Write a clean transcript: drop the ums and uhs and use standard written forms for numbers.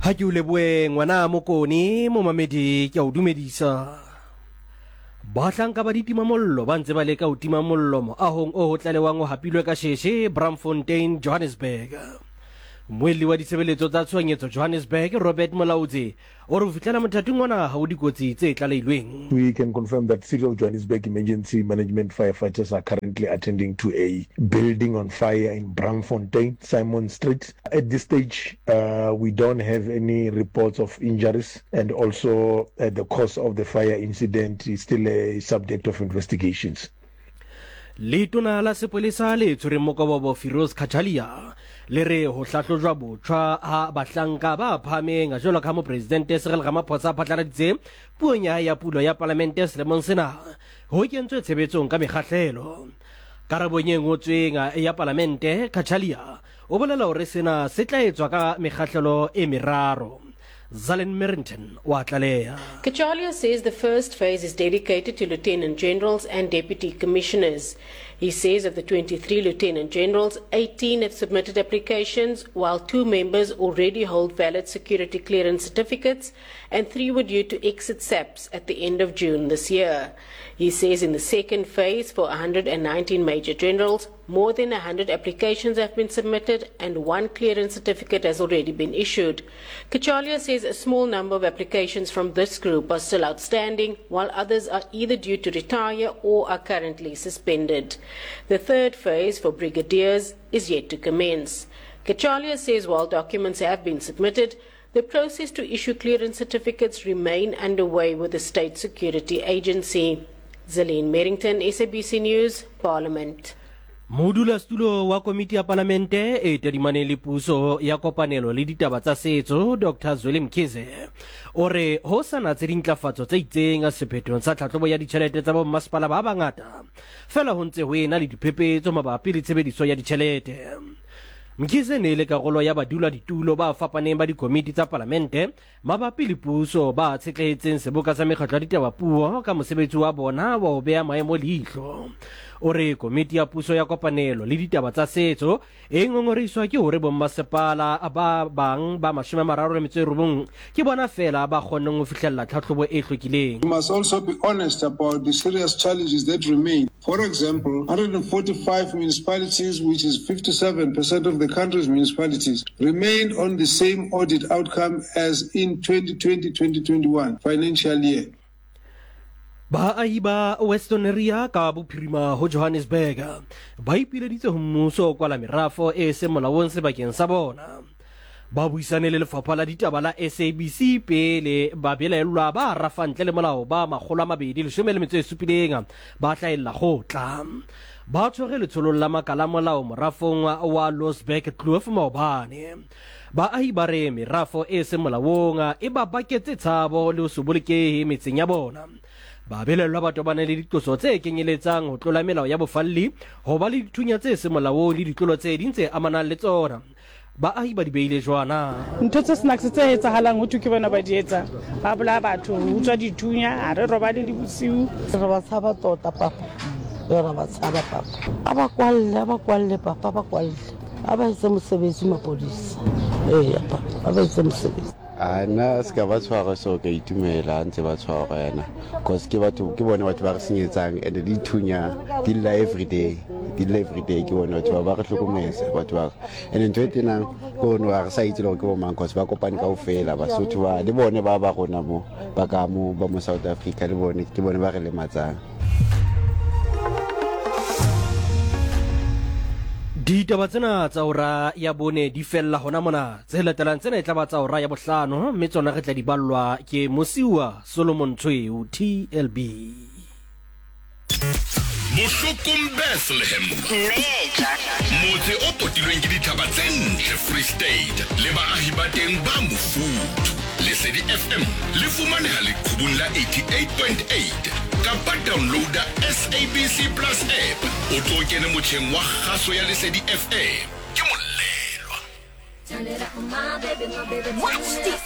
Ha ke o leboe ngwana Mokone, momamedi ke a o dumedisa. Bahlanka ba ditimamollo ba ntse ba leka ho tima mollo moahong o ho tlalewang o hapilwe ka sheshe Braamfontein, Johannesburg. Mmuelli wa ditshebeletso tsa tshohanyetso Johannesburg, Robert Molaudzi, o re ho fihlela mothating ona ha ho dikotsi tse tlaleilweng. We can confirm that City of Johannesburg Emergency Management firefighters are currently attending to a building on fire in Braamfontein, Simon Street. At this stage, we don't have any reports of injuries and also the cause of the fire incident is still a subject of investigations. Letona la sepolesa le tshwereng mokobobo Firoz Cachalia le re ho hlahlojwa botjhwa ha bahlanka ba phahameng jwalo ka Mopresidente Cyril Ramaphosa a phatlaladitse puong ya hae ya pulo ya palamente selemong sena ho kentswe tshebetsong ka mekgahlelo. Karabong e ngotsweng ya palamente, Cachalia o bolela hore sena se tla etswa ka mekgahlelo e meraro. Zalen Merrington o a tlaleha. Cachalia says the first phase is dedicated to lieutenant generals and deputy commissioners. He says of the 23 lieutenant generals, 18 have submitted applications, while two members already hold valid security clearance certificates and three were due to exit SAPS at the end of June this year. He says in the second phase for 119 major generals, more than 100 applications have been submitted and one clearance certificate has already been issued. Cachalia says a small number of applications from this group are still outstanding, while others are either due to retire or are currently suspended. The third phase for brigadiers is yet to commence. Cachalia says while documents have been submitted, the process to issue clearance certificates remain underway with the State Security Agency. Zelene Merrington, SABC News, Parliament. Modulasetulo wa komiti ya palamente e tadimaneng le puso ya kopanelo le ditaba tsa setso Dr Zweli Mkhize o re ho sa natse dintlafatso tse itseng sephethong sa tlhahlobo ya ditjhelete tsa bommasepala ba bangata fela ho ntse ho ena le diphephetso mabapi le tshebediso ya ditjhelete. Mkhize ne e le karolo ya baduladitulo ba fapaneng ba dikomiti tsa palamente Mabapi le puso, ba tshetlehetseng seboka sa mekgatlo ya ditaba puo ka mosebetsi wa bona wa ho beha maemo leihlo. O re komiti ya puso ya kopanelo le ditaba tsa setso e ngongorehiswa ke hore bommasepala ba bang ba 39 ke bona feela ba kgonneng ho fihlella tlhahlobo e hlwekileng. We must also be honest about the serious challenges that remain. For example, 145 municipalities, which is 57% of the country's municipalities, remained on the same audit outcome as in 2020-2021 financial year. Baahi ba Westonaria ka bophirima ho Johannesburg ba ipileditse ho mmuso ho kwala merafo e seng molaong sebakeng sa bona. Ba buisane le lefapha la ditaba la SABC pele babelaellwa ba rafa ntle le molao ba 217 ba hlahella kgotla. Ba tshwere letsholong la makala molao morafong wa Losberg Kloof maobane. Baahi ba re merafo e seng molaong e ba baketse tshabo le ho se bolokehe metseng ya bona. Babelaellwa ba tobane le diqoso tse kenyeletsang ho tlola melao ya bofalli, ho ba le dithunya tse seng molaong le ditlolo tse ding tse amanang le tsona. Baahi ba di beile jwana. Ntho tse snacks tse etsahalang ho thwe ke bona ba di etsang. Ba bolaya batho, ho utswa dithunya, ha re robale le bosiu. Re ba tshaba tota papa, re ra ba tshaba papa. A ba kwalle, a ba kwalle papa, a ba kwalle. A ba etse mosebetsi mapodisa. Eya papa, a ba etse mosebetsi. A nna se ka ba tshwara so ka itumela ntse ba tshwara yana cause ke batho ke bone batho ba re senyetsang and di thunya di lla everyday di lla everyday ke bone batho ba ba re hlokometse batho ba and ntho e tenang ke one ga re sa itse le gore ke bo mang cause ba kopane ka ofela basotho ba le bone ba ba rona mo ba ka mo ba mo South Africa le bone ke bone ba re lematsang. Ditaba tsena tsa ora ya bone di fella hona mona. Tse latelang tsena e tla ba tsa ora ya bohlano mme tsona re tla di ballwa ke Mosiuwa Solomon Tshweu, TLB. Bohlokong Bethlehem, motse o potilweng ke dithaba tse ntle Free State le baahi ba teng ba mofuthu. Lesedi FM le fumaneha leqhubung la 88.8 kapa downloada SABC Plus app o tlo kene motjheng wa kgaso ya Lesedi FM. Ke Molelwa. Watch this.